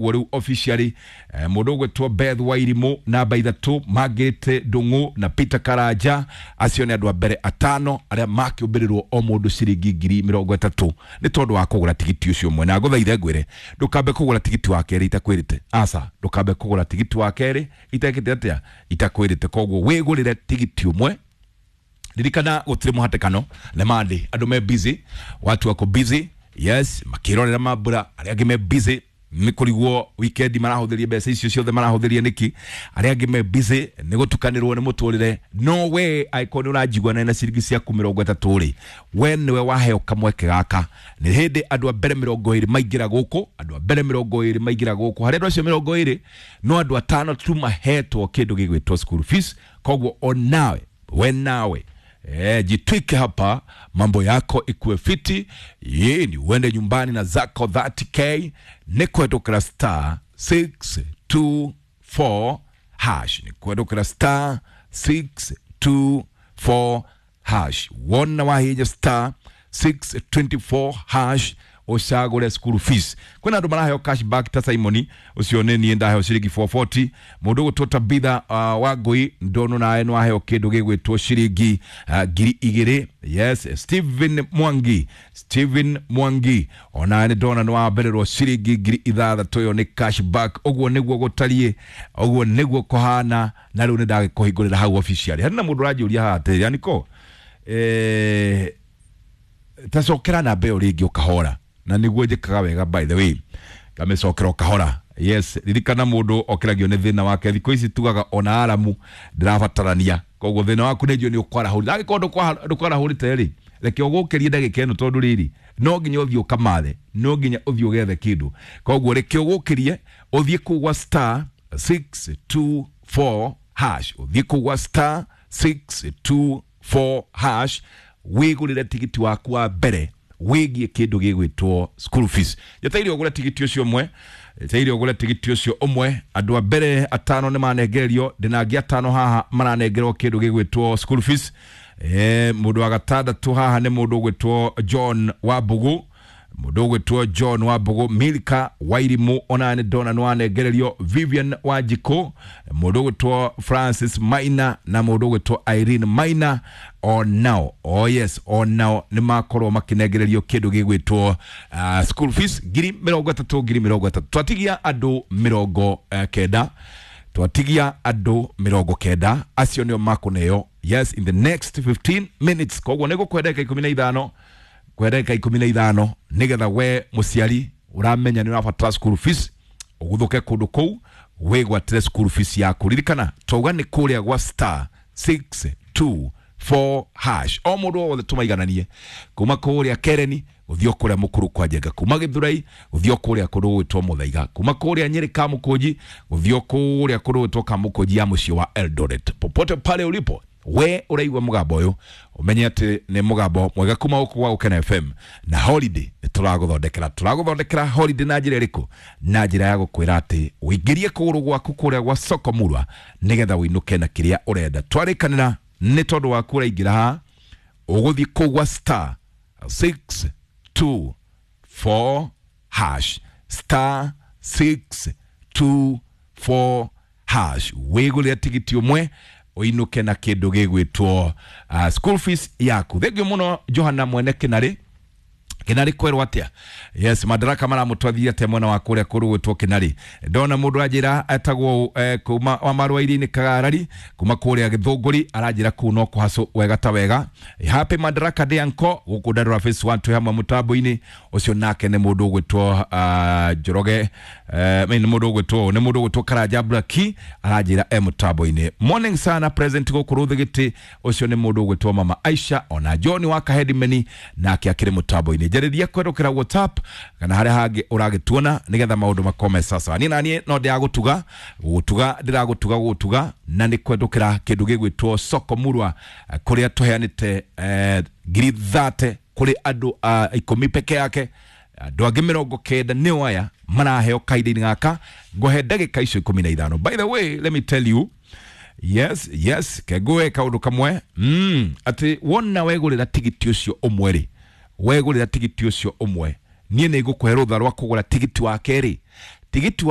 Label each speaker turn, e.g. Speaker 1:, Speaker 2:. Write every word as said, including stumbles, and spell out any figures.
Speaker 1: Rĩu officially eh, mũndũ ũgwĩtwo Beth Wairimu namba ithatũ, Margaret Ndung'u na Peter Karanja, acio nĩ andũ a mbere atano arĩa makĩũmbĩrĩrwo o mũndũ ciringi ngiri mĩrongo ĩtatũ nĩ tondũ wa kũgũra tigiti ũcio ũmwe. Na ngũthaithe ngwĩre ndũkambe kũgũra tigiti wa kerĩ itakwĩrĩte, aca, ndũkambe kũgũra tigiti wa kerĩ itekĩte atĩa, itakwĩrĩte. Koguo wĩgũrĩre tigiti ũmwe. Ririkana gũtirĩ mũhatĩkano, nĩ Monday, andũ me busy, watu wako busy, yes, makĩrorera mambura, arĩa angĩ me busy nĩ kũrigwo weekend marahũthĩria mbeca icio ciothe marahũthĩria nĩkĩ, arĩa angĩ me busy nĩ gũtukanĩrwo nĩ mũtũrĩre. No we angĩkorwo nĩ ũranjigua na ciringi ciaku mĩrongo ĩtatũ rĩ, we nĩwe waheo kamweke gaka. Nĩ hĩndĩ andũ a mbere mĩrongo ĩrĩ maingĩra gũkũ, andũ a mbere mĩrongo ĩrĩ maingĩra gũkũ, harĩ andũ acio mĩrongo ĩrĩ no andũ atano tu mahetwo kĩndũ gĩgwĩtwo school fees. Koguo onawe we nawe Eh, jitwike hapa mambo yako ikuwe fiti, ye ni uende nyumbani na zako thirty k. Ni kwendokera star six two four hash, ni kwendokera star six two four hash. Wona wahinya star six twenty-four hash ucagure school fees. Kwina andu maraheo cash back ta Simoni ucio ni nie ndaheo ciringi four forty, mundu gutwo Tabitha uh, wa Ngui ndono nawe no aheo kindu gigwitwo ciringi uh, ngiri igiri. Yes, Steven Mwangi, Steven Mwangi ona ni ndona no wambererwo ciringi ngiri ithathatũ, yo ni cash back. Uguo niguo gutarie, uguo niguo kuhana, na riu ni ndagikuhingurira hau officially. Hari na mundu uranjũria haha atĩrĩ, Aniko, eh, tacokera namba ĩyo rĩngĩ ũkahora, na niguo njĩkaga wega by the way, ngamĩcokera ũkahora. Yes, ririkana mũndũ okĩragio nĩ thĩna wake. Thikũ ici tugaga ona aramu ndĩrabatarania, koguo thĩna waku nĩ njũĩ nĩ ũkwarahũrire. Angĩkorwo ndũkwarahũrĩte rĩ, reke ũgũkĩrie ndagĩka ĩno, tondũ rĩrĩ no nginya ũthiĩ ũkamathe, no nginya ũthiĩ ũgethe kĩndũ. Koguo reke ũgũkĩrie ũthiĩ kũu gwa star six two four hash, ũthiĩ kũu gwa star six two four hash wĩgũrĩre tigiti waku wa mbere wĩgiĩ kĩndũ gĩgwĩtwo school fees. Njeteire ũgũre tigiti ũcio ũmwe, njeteire ũgũre tigiti ũcio ũmwe. Andũ a mbere atano nĩ manengererio, ndĩna angĩ atano haha maranengerwo kĩndũ gĩgwĩtwo school fees. Eh, mũndũ wa gatandatũ haha nĩ mũndũ ũgwĩtwo John Wambugu, mũndũ ũgwĩtwo John Wambugu, Milka Wairimu ona nĩ ndona nĩ wanengererio, Vivian Wanjikũ, mũndũ ũgwĩtwo Francis Maina na mũndũ ũgwĩtwo Irene Maina, onao, oh yes, onao nĩ makorwo makĩnengererio kĩndũ gĩgwĩtwo uh, school fees ngiri mĩrongo ĩtatũ, ngiri mĩrongo ĩtatũ. Twatigia andũ mĩrongo uh, kenda, twatigia andũ mĩrongo kenda, acio nĩo makũneo, yes, in the next fifteen minutes. Koguo nĩ gũkũhe ndagĩka ikũmi na ithano, kũhe ndagĩka ikũmi na ithano nĩgetha we mũciari ũramenya nĩ ũrabatara school fees ũguthũke kũndũ kũu wĩgwatĩre school fees yaku. Ririkana twauga nĩ kũrĩa gwa star six two four hash. O mũndũ wothe tũmaigananie kuma kũrĩa Kereni gũthiĩ kũrĩa Mũkũrũ kwa Njenga, kuma Gĩthurai gũthiĩ kũrĩa kũndũ gwĩtwo Mũthaiga, kuma kũrĩa Nyĩrĩ Kamũkũnji gũthiĩ kũrĩa kũndũ gwĩtwo Kamũkũnji ya mũciĩ wa Eldoret. Popote pale ulipo we ũraigua mũgambo ũyũ ũmenye atĩ nĩ mũgambo mwega kuma gũkũ gwa Gũkena F M. Na holiday nĩ tũragũthondekera, tũragũthondekera holiday na njĩra ĩrĩkũ? Na njĩra ya gũkwĩra atĩ ũingĩrie kũgũrũ gwaku kũrĩa gwa soko murwa nĩgetha ũinũke na kĩrĩa ũrenda. Twarĩkanĩra nĩ tondũ waku ũraingĩra haha ũgũthiĩ kũu gwa star six two four hash, star six two four hash, wĩgũrĩre tigiti ũmwe ũinũke na kĩndũ gĩgwĩtwo uh, school fees yaku. Thengiũ mũno Johana mwene Kĩnarĩ. Kĩnarĩ kwerwo atĩa? Yes, Madaraka maramũtwathia atĩa mwena wa kũrĩa kũrũ gwĩtwo Kĩnarĩ. Ndona mũndũ anjĩra etagwo eh, kuma wa Marũa-inĩ Kagarari, kuma kũrĩa Gĩthũngũri, aranjĩra kũu no kũhacũ wega ta wega. Happy Madaraka Day anko gũkũ Ndarura Phase one twĩ hamwe mũtambo-inĩ ũcio, nake nĩ mũndũ ũgwĩtwo uh, Njoroge, eh, nĩ mũndũ ũgwĩtwo, nĩ mũndũ ũgwĩtwo Karanja Blaki aranjĩra e mũtambo-inĩ. Morning sana present gũkũ Rũthĩgĩtĩ, ũcio nĩ mũndũ ũgwĩtwo Mama Aisha, ona John wa Kahedimeni nake akĩrĩ mũtambo-inĩ. Njarĩria kwendũkĩra WhatsApp kana harĩa hangĩ ũragĩtuona nĩgetha maũndũ makome sasa. Niĩ na niĩ no ndĩragũtuga, gũgũtuga ndĩragũtuga gũgũtuga, na nĩ kwendũkĩra kĩndũ gĩgwĩtwo soko murwa kũrĩa tũheanĩte eh, ngiri thate kũrĩ andũ a ikũmi peke yake. Andũ angĩ mĩrongo kenda nĩo aya maraheo kahinda-inĩ gaka, ngũhe ndagĩka icio ikũmi na ithano. By the way, let me tell you, yes, yes, kengũe kaũndũ kamwe, mm, atĩ wona wegũrĩra tigiti ũcio ũmwe rĩ, wegũrĩra tigiti ũcio ũmwe, niĩ nĩ ngũkũhe rũtha rwa kũgũra tigiti wa kerĩ. Tigiti wa